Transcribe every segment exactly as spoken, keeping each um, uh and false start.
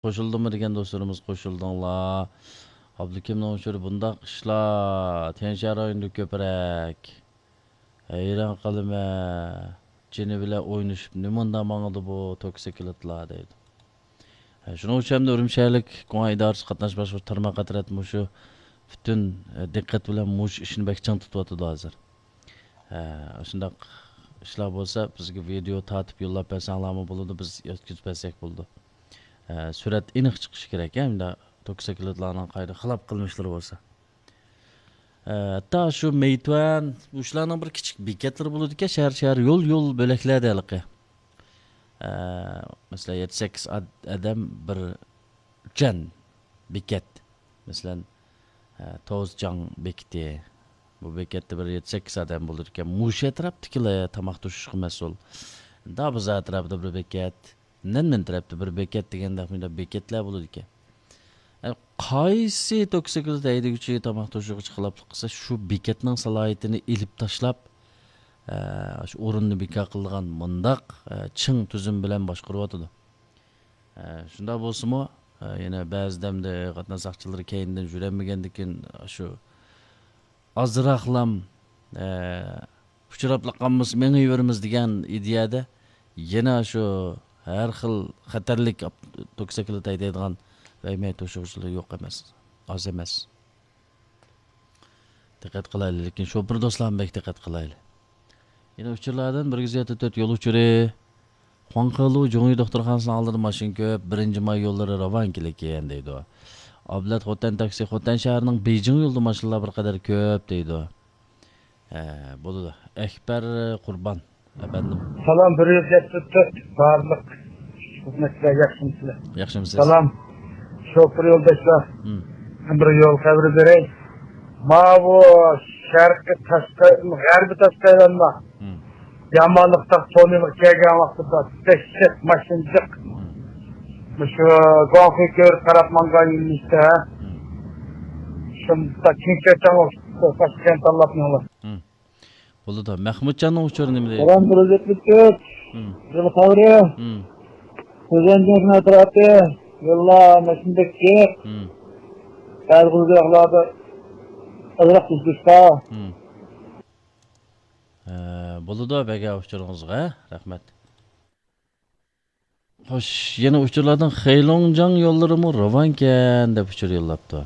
قوشۇلدىمۇ دېگەن دوستلىرىمىز، قوشۇلدۇڭلار. ئابلىكىمنىڭ ئۇچۇرى بۇنداق ئىشلار تيەنشان رايونىدا كۆپرەك. ھەيران قالىمەن. جېنى بىلەن ئوينىشىپ نېمانداق ماڭىدۇ بۇ توكسىكلىتلار دەيدۇ. ھە، شۇنىڭ ئۈچۈن ھەمدە ئۈرۈمچى شەھەرلىك گۇڭئەن ئىدارىسى قاتناش باشقۇرۇش تارماق ئەترەت مۇشۇ پۈتۈن، ئە، دىققەت بىلەن مۇشۇ ئىشنى بەك چىڭ تۇتۇۋاتىدۇ ھازىر. ھە، ئاشۇنداق ئىشلار بولسا بىزگە ۋىدېئو تارتىپ يوللاپ بەرسەڭلارمۇ بولىدۇ، بىز يەتكۈزۈپ بەرسەك بولىدۇ. ھە، سۈرەت ئېنىق چىقىشى كېرەك، ھە، مۇنداق توكسىكلىتلارنىڭ قايدا خىلاپ قىلمىشلىرى بولسا. ئە، ھەتتا شۇ مېيتۈەن، شۇلارنىڭ بىر كىچىك بېكەتلىرى بولىدىكەن، شەھەر، شەھەر يول، يول بۆلەكلەردە ھېلىقى. ئە، مەسىلەن، يەتتە سەككىز ئاد-، ئادەم بىر ئۈچەن بېكەت. مەسىلەن، ئە، توزجاڭ بېكىتى. بۇ بېكەتتە بىر يەتتە سەككىز ئادەم بولىدىكەن. مۇشۇ ئەتراپتىكىلا تاماق توشۇشقا مەسئۇل. دابىزا ئەتراپىدا بىر بېكەت. نەنمېن تەرەپتە بىر بېكەت دېگەندە مۇنداق بېكەتلەر بولىدىكەن. ئە، قايسى توكسىكلىت ھەيدىگۈچى تاماق توشۇغۇچى خىلاپلىق قىلسا، شۇ بېكەتنىڭ سالاھىيىتىنى ئېلىپ تاشلاپ، ئە، شۇ ئورۇننى بىكار قىلىدىغان مۇنداق، ئە، چىڭ تۈزۈم بىلەن باشقۇرۇۋاتىدۇ. ئە، شۇنداق بولسىمۇ، ئە، يەنە بەزىدە ئەمدى قاتناش ساقچىلىرى كەينىدىن يۈرەلمىگەندىكىن شۇ ئازراقلام، ئە، ئۇچراپلا قالمىسا مېڭىۋېرىمىز دېگەن ئىدىيەدە يەنە شۇ ھەر خىل خەتەرلىك ئاپ-، توكسىكلىت ھەيدەيدىغان ۋەيمەي توشۇغۇچىلار يوق ئەمەس، ئاز ئەمەس. دىققەت قىلايلى، لېكىن شوپۇر دوستلارمۇ بەك دىققەت قىلايلى. يەنە ئۇچۇرلاردىن بىر يۈز يەتتە تۆت يول ئۇچۇرى. خۇاڭخېلۇ جۇڭيى دوختۇرخانىسىنىڭ ئالدىدا ماشىنا كۆپ، بىرىنچى ماي يوللىرى راۋانكىلىككەن دەيدۇ. ئابلەت خوتەن تاكسى، خوتەن شەھىرىنىڭ بېيجىڭ يولىدا ماشىنىلار بىر قەدەر كۆپ دەيدۇ. ھە، بولىدۇ. ئەكبەر قۇربان ئەپەندىم. سالام، بىر يۈز يەتتە تۆت بارلىق خىزمەتچىلەر، ياخشىمۇسىلەر؟ ياخشىمۇسىز؟ سالام، شوپۇر يولداشلار. ھىم. مەن بىر يول خەۋىرى بېرەي. ماۋۇ شەرقىي تاشقى، غەربىي تاشقى ئايلانما. ھىم. يامانلىقتا تونېلغا كەلگەن ۋاقتىدا دەھشەت ماشىنا جىق. ھىم. مۇشۇ گۇاڭخۇي كۆۋرۈك تەرەپ ماڭغان يۆنىلىشتە. ھىم. شۇنداق كېڭىچەڭ باشقا تاللاپ مېڭىڭلار. ھىم. بولىدۇ. مەخمۇتجاننىڭ ئۇچۇرى نېمە دەيدۇ؟ سالام، بىر يۈز يەتمىش ئۈچ. ھىم. يول خەۋىرى. ھىم. سۆزەنجان ئەتراپى. يوللار ماشىنا بەك جىق. ھىم. بەزى گۈزەللىكلەردە ئازراق تۈزۈشتە. ھىم. ھە، بولىدۇ، بەگە ئۇچۇرىڭىزغا رەھمەت. خوش، يەنە ئۇچۇرلاردىن خېيلوڭجاڭ يوللىرىمۇ راۋانكەن دەپ ئۇچۇر يوللاپتۇ.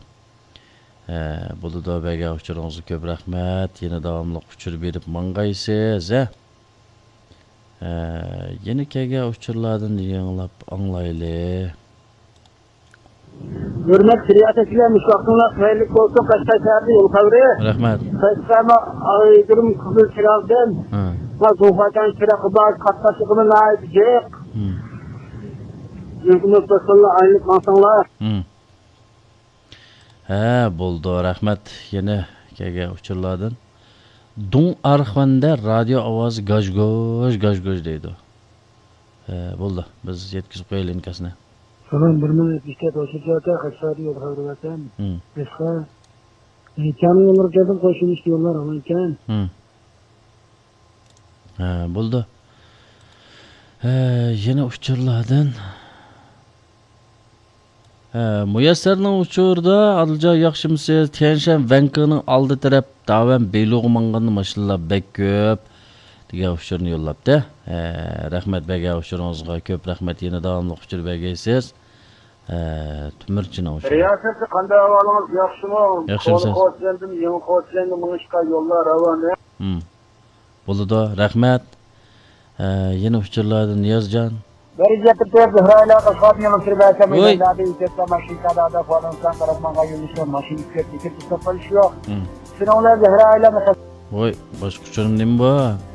ھە، بولىدۇ، بەگە ئۇچۇرىڭىزغا كۆپ رەھمەت. يەنە داۋاملىق ئۇچۇر بېرىپ ماڭغايسىز، ھە. ھە، يەنە كەلگەن ئۇچۇرلاردىن يېڭىلاپ ئاڭلايلى. ھۆرمەتلىك رىياسەتچىلەر، مۇشۇ ۋاقتىڭلار خەيرلىك بولسۇن، قەشقەر شەھىرىدە يول خەۋىرى. رەھمەت. قەشقەرنىڭ ئايگۈلۈم قىزىل چىراغدىن. ھە. ما زۇڭخۇاجان چىراغى بار، قاتناشلىقىمۇ ناھايىتى جىق. ھىم. مۇمكىن بولسا توشقانلار ئايلىنىپ ماڭساڭلار. ھىم. ھە، بولىدۇ، رەھمەت. يەنە كەلگەن ئۇچۇرلاردىن. دۇڭ ئارخۇەندە رادىيو ئاۋازى گاژ-گۇژ، گاژ-گۇژ دەيدۇ. ھە، بولدى، بىز يەتكۈزۈپ قويايلى ئىنكاسنى. سالام، بىر مىڭ يەتمىش تۆت ئوتتۇز تۆت، قەشقەردىن يول خەۋىرى بەرسەم. ھىم. قەشقەر. ئىنكاسنى يوللىرى كەلدىم، قوشۇلۇش يوللار ئامان ئىكەن. ھىم. ھە، بولدى. ھە، يەنە ئۇچۇرلاردىن. ھە، مۇيەسسەرنىڭ ئۇچۇرىدا، ئادىلجان ياخشىمۇسىز؟ تيەنشەن ۋەنكىنىڭ ئالدى تەرەپ داۋەن بېيلۇغا ماڭغاندا ماشىنىلار بەك كۆپ دېگەن ئۇچۇرنى يوللاپتۇ. ھە، رەھمەت بەگە ئۇچۇرىڭىزغا، كۆپ رەھمەت، يەنە داۋاملىق ئۇچۇر بەرگەيسىز. ھە، تۆمۈرچىنىڭ ئۇچۇرى. رىياسەتچى، قانداق ئەھۋالىڭىز؟ ياخشىمۇ؟ ياخشىمۇسىز؟ كونا قوچيەندىن يېڭى قوچيەنگە مېڭىشقا يوللار راۋان. ھىم. بولىدۇ، رەھمەت. ھە، يەنە ئۇچۇرلاردىن نىيازجان. دەرىجە تۆت زۆھرە ئايلار قەشقەردىن يېڭى سۈرۈپ ئەسەم ۋوي. مەيداندا ئىجادتا ماشىنا كادادا فالانسان قاراپ ماڭغان يۆنىلىشتە ماشىنا ئىككى يۈز ئىككى يۈز توققۇز يۈز يوق. ھىم. شۇنىڭ بىلەن زۆھرە ئايلار. ۋوي، باشقا ئۇچۇرۇم نېمە بار؟